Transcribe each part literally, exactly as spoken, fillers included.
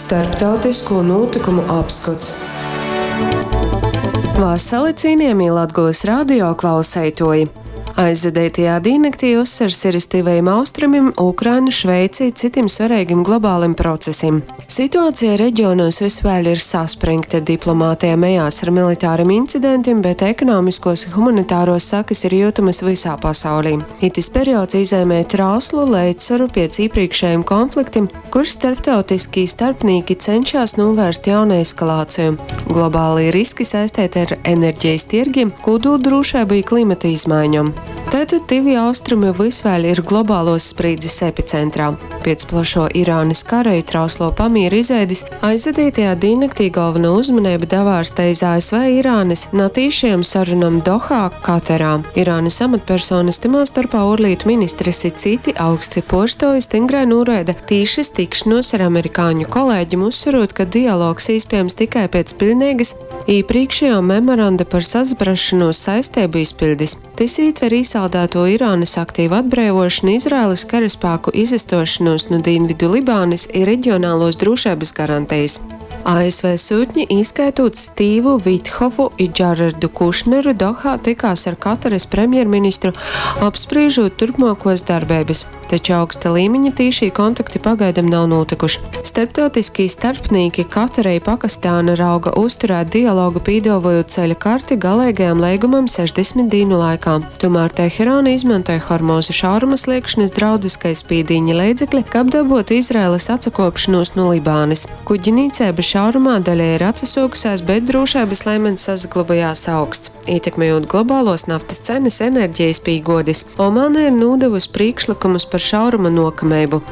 Starptautisko nūtykumu apskots. Vasali, cienījamie Latgulas radio klauseitoji! Aizvadeitajā dīnnaktī uzsvars ir iz Tyvajim Austrumim, Ukrainu, Šveici i cytim svareigim globalim procesim. Situācija reģionos vys vēļ ir saspringta, diplomātija mejās ar militārim incidentim, bet ekonomiskuos i humanitaruos sakys ir jiutamys vysā pasaulī. Itys periods īzeimej trauslu leidzsvaru piec īprīkšejim konfliktim, kur starptautiskī starpnīki cenšās nūvērst jaunu eskalāciju. Globālī riski saisteiti ar enerģejis tiergim, kūduldrūšeibu i klimata izmaiņom. Tātad Tyvī Austrumi vys vēļ ir globāluos sprīdzis epicentrā. Piec plašuo Irānys kara i trausluo pamiera izveidis aizvadeitajā dīnnaktī golvonuo uzmaneiba davārsta iz A S V Irānys natīšajom sarunom Dohā, Katarā. Irānys amatpersonys, tymā storpā uorlītu ministrs i cyti augsti puorstuovi, styngrai nūraida tīšys tikšonuos ar amerikāņu kolēģim, uzsverūt, ka dialogs īspiejams tikai piec piļneigys īprīkšejuo memoranda par sasaprasšonūs saisteibu izpiļdis. Tys ītver īsaldāto Irānys aktīvu atbreivuošonu, Izraelys karaspāku izastuošonūs nu Dīnvidu Libānys i regionaluos drūšeibys garantejis. A S V syutņi, īskaitūt Stīvu Vithofu i Džaredu Kušneru, Dohā tykās ar Katarys premjerministru, apsprīžūt turpmuokuos darbeibys, taču augsta līmeņa tīšī kontakti pagaidam nav nūtykuši. Starptautiskī starpnīki Katara i Pakistāna rauga uzturēt dialogu, pīduovojūt ceļa karti galeigajam leigumam sešdesmit dīnu laikā. Tomēr Teherāna izmantoja Hormuza šauruma sliegšanys draudus kai spīdīņa leidzekli, kab dabuotu Izraelys atsakuopšonūs nu Libānys. Kuģnīceiba šaurumā daļai ir atsasuokusēs, bet drūšeibys līmenis sasaglobojās augsts, ītekmejot globāluos naftys cenys, enerģejis pīguodis. Omāna ir nūdevusi prīkšlykumus par šauruma nuokameibu.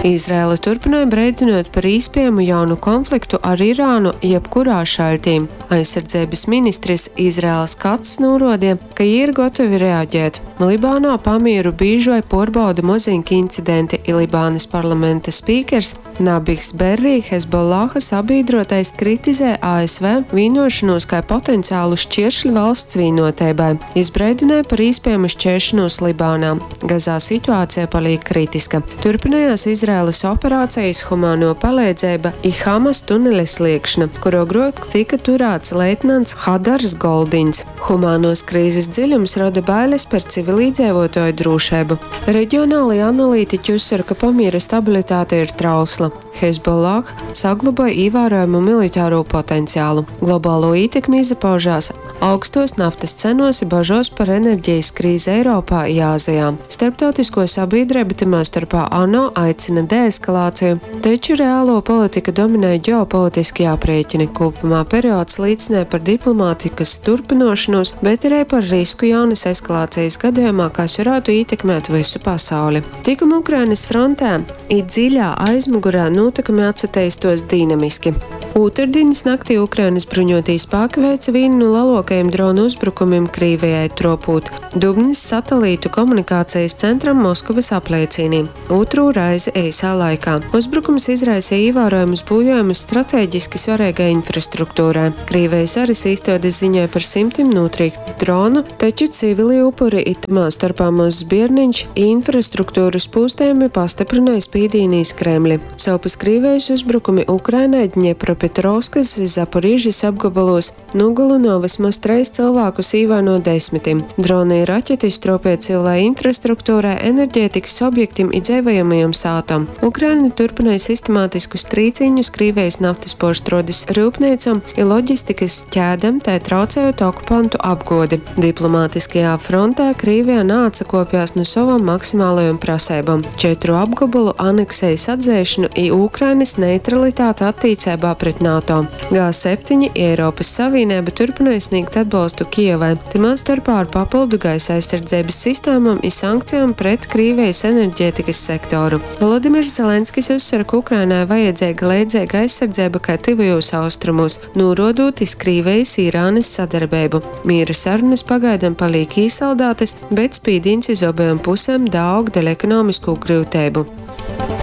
Izraela turpynoj breidynuot par īspiejamu jaunu konfliktu ar Irānu jebkurā šaļtī. Aizsardzeibys ministrs Izraels Kacs nūruodeja, ka jī ir gotovi reaģēt. Libānā pamieru bīžai puorbauda moziņki incidenti, i Libānys parlamenta spīkers Nabihs Berri, Hezbollaha sabīdrotais, kritizē A S V vīnuošonūs kai potenciālu šķieršli valsts vīnuoteibai. Jis breidynoj par īspiejamu šķēršanūs Libānā. Gazā situācija palīk kritiska. Turpinājās Izraēlas operācijas, humāno palīdzība i Hamas tuneļa sliegšana, kur ogruok tika turāts leitnants Hadars Goldins. Humānos krīzes dziļums roda bailes par civilīdzēvotoju drošību. Reģionālie analītiķi uzsver, ka pamiera stabilitāte ir trausla. Hezbollah saglabāja ievērojamu militāro potenciālu. Globālo ietekmi izpaužās augstos naftas cenos i bažos par enerģijas krīzi Eiropā i Āzijā. Starptautisko sabiedrību, tamā starpā ANO, aicina deeskalāciju, taču reālo politika dominē ģeopolitiskie aprēķini. Kopumā periods liecināja par diplomātikas turpinošanos, bet arī par risku jaunas eskalācijas gadījumā, kas varētu ietekmēt visu pasauli. Tikuma Ukrainas frontē i dziļā aizmugurē notikumi atsateistos dinamiski. Ūtrdienas naktī Ukrainas bruņotie spēki veica vienu no lielākajiem dronu uzbrukumiem Krīvijai, tropūt Dubnis satelītu komunikācijas centram Moskavas apliecīnī. Otro reizi īsā laikā. Uzbrukums izraisīja ievērojamus būjojumus strateģiski svarīgai infrastruktūrai. Krīvijas varas īstādes ziņoja par simtiem notriektu dronu, taču civili upuri, i tamā starpā mazs bierniņš, infrastruktūras pūstējumi pastiprināja spīdīni iz Kremli. Sovpus Krīvijas uzbrukumi Ukrainai Dņepropetrovskas, Zaporižas apgabalos nogalino vismaz treis cilvēkus īvaino desmitiem. Droni i raķetis tropēja civilai infrastruktūrai, enerģētikas objektiem i dzeivojamajom sātom. Ukraina turpināja sistemātiskus trīcīņus Krīvijas naftas porštrodes rūpnīcom i loģistikas ķēdem, tai traucējot okupantu apgodi. Diplomātiskajā frontē Krīvija neatsakopjās no savam maksimālajom prasībām – četru apgabalu aneksējas atzēšanu i Ukrainas neutralitāti attīcībā pret NATO. G septiņi i Eiropas Savienība turpināja sniegt atbalstu Kijevai, tamā starpā ar papildu gaisa aizsardzības sistēmām i sankcijām pret Krīvijas enerģētikas sektoru. Volodimirs Zelenskis uzsver, ka Ukrainai vajadzīga leidzīga aizsardzība kā Tuvajos Austrumos, norodot iz Krīvijas Irānas sadarbību. Miera sarunas pagaidām paliek īsaldētas, bet spīdīns iz obajām pusēm daaug dēļ ekonomisko grūtību.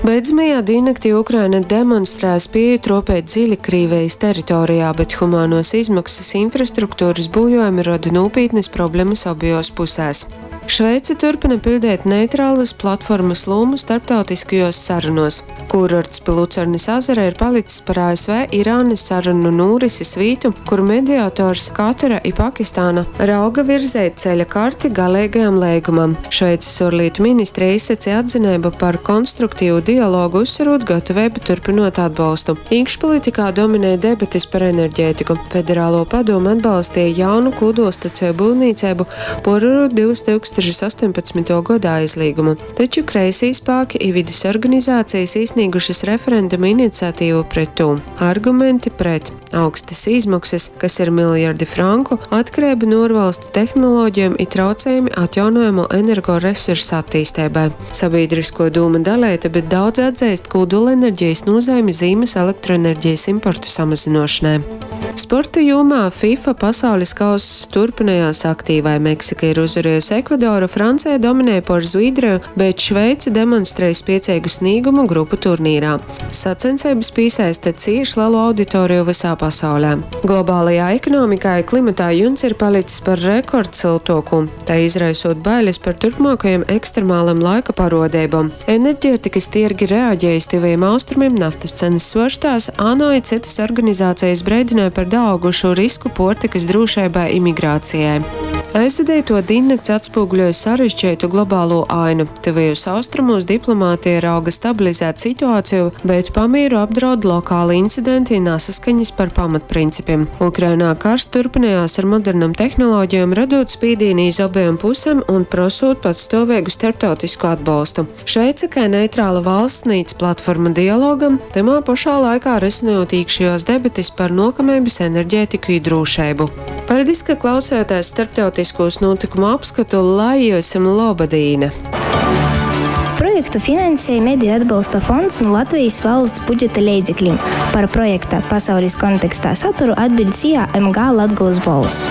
Beidzamajā diennaktī Ukraina demonstrēja spēju tropēt dziļi Krīvijas teritorijā, bet humānos izmaksas, infrastruktūras bojājumi rada nopietnas problēmas abajos pusēs. Šveice turpina piļdeit neitrālys platformys lūmu starptautiskajuos sarunuos. Kūrorts pi Lucernis azara ir palics par A S V Irānys sarunu nūrisis vītu, kur mediators Katara i Pakistāna rauga virzeit ceļa karti galeigajam leigumam. Šveicis uorlītu ministre izsaceja atzineibu par konstruktīvu dialogu, uzsverūt gataveibu turpynuot atbolstu. Īkšpolitikā dominej debatis par enerģētiku. Federālo padome atbalsteja jaunu kūdulstaceju byuvnīceibu, puorvarūt divtūkstoš astoņpadsmytuo goda aizlīgumu. Taču kreisī spāki i vidis organizācijas īsnīgušas referenduma iniciatīvu pret tū. Argumenti pret: augstas izmaksas, kas ir miljardi franku, atkarība no uorvalstu tehnoloģijom i traucējumi atjaunojamo energoresursu attīsteibai. Sabiedrisko dūma daleita, bet daudzi atzeist kūdulenerģijas nozeimi zīmes elektroenerģijas importu samazinošanai. Sporta jomā FIFA pasaules kauss turpinājās aktīvai. Meksika ir uzvarējusi Ekvadoru, Francija dominē pār Zviedriju, bet Šveice demonstrēja spiecīgu sniegumu grupu turnīrā. Sacensības piesaista cieši lielu auditoriju visā pasaulē. Globālajā ekonomikā i klimatā juns ir palicis par rekordsiltoku, tā izraisot bailes par turpmākajiem ekstremāliem laika parodībām. Enerģētikas tirgi reaģējas Tuvajiem Austrumiem, naftas cenas svārstās, ANO i citas organizācijas breidināja par daaugušu risku puortikas drūšeibai i migrācijai. Aizvadīto diennakts atspoguļoja sarežģītu globālo ainu. Tuvajos austrumos diplomātija rauga stabilizēt situāciju, bet pamieru apdraud lokāli incidenti un nesaskaņas par pamatprincipiem. Ukrainā karš turpinājās ar modernām tehnoloģijām, radot spīdīni iz obejām pusēm un prosot patstāvīgu starptautisku atbalstu. Šveice, kā neitrāla valsts, sniedz platformu dialogam, tamā pašā laikā risinot iekšējos debatis par nokamības enerģētiku i drūšeibu. Paldies, ka klausījāties starptautiskos notikumu apskatu, lai jums loba dīna! Projektu finansēja Mediju atbalsta fonds no Latvijas valsts budžeta leidzekļiem. Par projekta pasaules kontekstā saturu atbild S I A M G Latgolas Bolss.